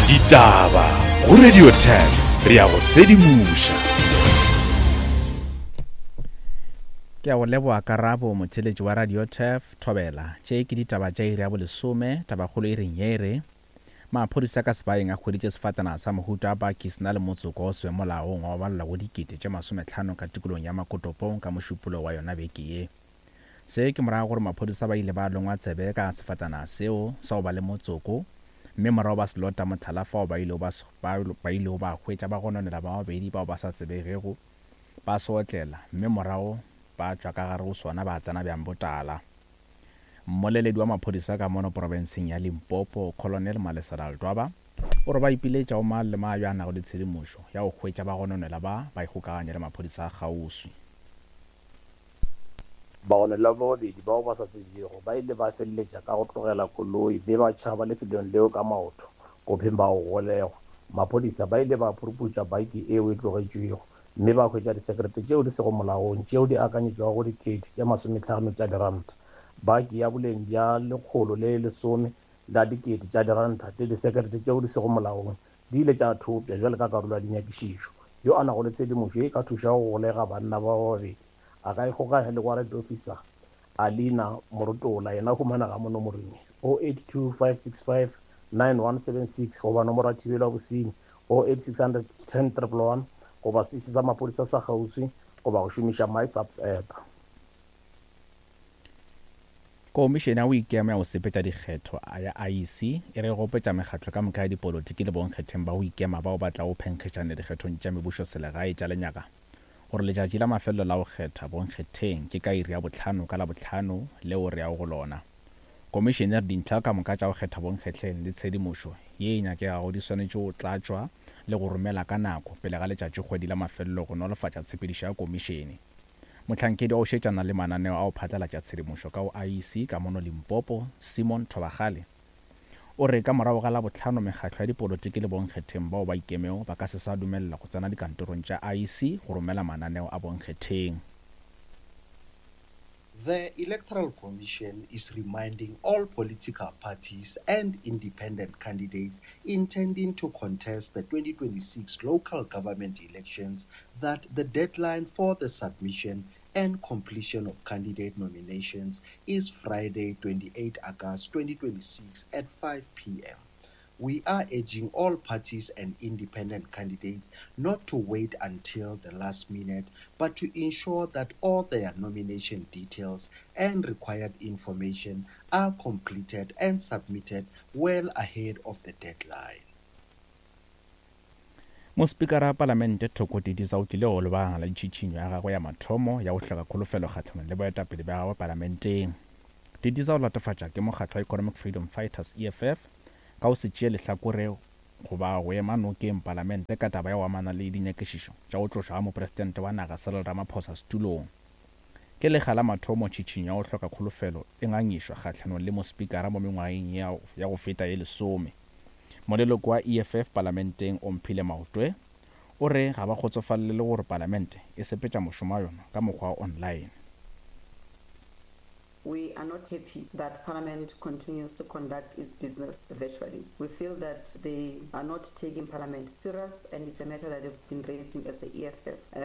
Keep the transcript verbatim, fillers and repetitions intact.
Ditaba go Radio ten re ya go sedimoša. Ke a go leboga Karabo, motheeletši wa Radio Turf, Thobela. Tše ke ditaba tša iri ya bolesome, tabakgolo e reng ye e re, Maphodisa ka sebaeng a hweditše sefatanaga sa mohuta wa baki se na le motsoko o se molaong wa go balelwa go dikete tše masomehlano ka tikologong ya Makotopong ka Mošupologo wa yona beke ye. Se ke morago gore maphodisa ba ile ba longwa tsebe ka sefatanaga seo sa go ba le motsoko mme morago ba se lota mohlala fao ba ilego ba, ba ilego ba hwetša bagononela ba babedi bao ba sa tsebegego ba se otlela mme morago ba tšwa ka gare go sona ba tsena bjang botala. Mmoleledi wa maphodisa ka mono profenseng ya Limpopo, Colonel Malesela Ledwaba, o re ba ipiletša go mang le mang yo a nago le tshedimošo ya go hwetša bagononela ba ba ikgokaganye le maphodisa a kgauswi. Bagononelwa ba babedi bao ba sa tsebjego ba ile ba feleletša ka go tlogela koloi mme ba tšhaba lefelong leo ka maoto go phema go golegwa. Maphodisa ba ile ba phuruphutša baki yeo e tlogetšwego mme ba hwetša disekerete tšeo di sego molaong tšeo di akanyetšwago go dikete tše masomehlano tša diranta, baki ya boleng bja lekgolo le lesome la dikete tša diranta le disekerete tšeo di sego molaong di ile tša thopša bjalo ka karolo ya dinyakišišo. Yo a nago le tshedimošo ye e ka thušago go golega banna ba babedi a ka ikgokaganya le Warrant Officer Alina Morotola, yena o humanega mo nomorong ye oh eight two five six five nine one seven six goba nomoro ya thibelo ya bosenyi oh eight six hundred ten triple one goba seteše sa maphodisa sa kgauswi goba go šomiša MySAPS app. Komišene ya go ikema ya go sepetša dikgetho ya I E C e re gopetša mekgatlo ka moka ya dipolotiki le bonkgetheng ba go ikema bao ba tlago phenkgišana dikgethong tša mebušoselegae tša lenyaga gore letšatši la mafelelo la go kgetha bonkgetheng ke ka iri ya bohlano ka Labohlano leo re yago go lona. Komišene e re dintlha ka moka tša go kgetha bonkgetleng le tshedimošo ye e nyakegago di swanetše go tlatšwa le go romela ka nako pele ga letšatšikgwedi la mafelelo go nolofatša tshepedišo ya komišene. Mohlankedi wa go šetšana le mananeo a go phatlalatša tshedimošo ka go I E C ka mono Limpopo, Simon Thobakgale, o re ka morago ga Labohlano mekgatlo ya dipolotiki le bonkgetheng bao ba ikemego ba ka se sa dumelela go tsena dikantorong tša I E C go romela mananeo a bonkgetheng. The Electoral Commission is reminding all political parties and independent candidates intending to contest the twenty twenty-six local government elections that the deadline for the submission and completion of candidate nominations is Friday, twenty-eighth August twenty twenty-six at five P M. We are urging all parties and independent candidates not to wait until the last minute, but to ensure that all their nomination details and required information are completed and submitted well ahead of the deadline. Mospikara wa Palamente Thoko Didiza o tlile go lebagana le tšhitšhinyo ya gagwe ya mathomo ya go hloka kholofelo kgahlanong le boetapele bja gagwe palamenteng. Didiza o latofatša ke mokgatlo wa Economic Freedom Fighters E F F ka go se tšee lehlakore goba go ema nokeng palamente ka taba ya go amana le dinyakišišo tša go tlošwa ga mopresidente wa naga Cyril Ramaphosa setulong. Ke lekga la mathomo tšhitšhinyo ya go hloka kholofelo e ngangišwa kgahlanong le mospikara mo mengwageng ya go feta ye lesome. Moleloko wa E F F palamenteng Omphile Maotwe o re ga ba kgotsofalele le gore palamente e sepetša mošomo wa yona ka mokgwa wa online. We are not happy that Parliament continues to conduct its business virtually. We feel that they are not taking Parliament serious, and it's a matter that they've been raising as the E F F. Um,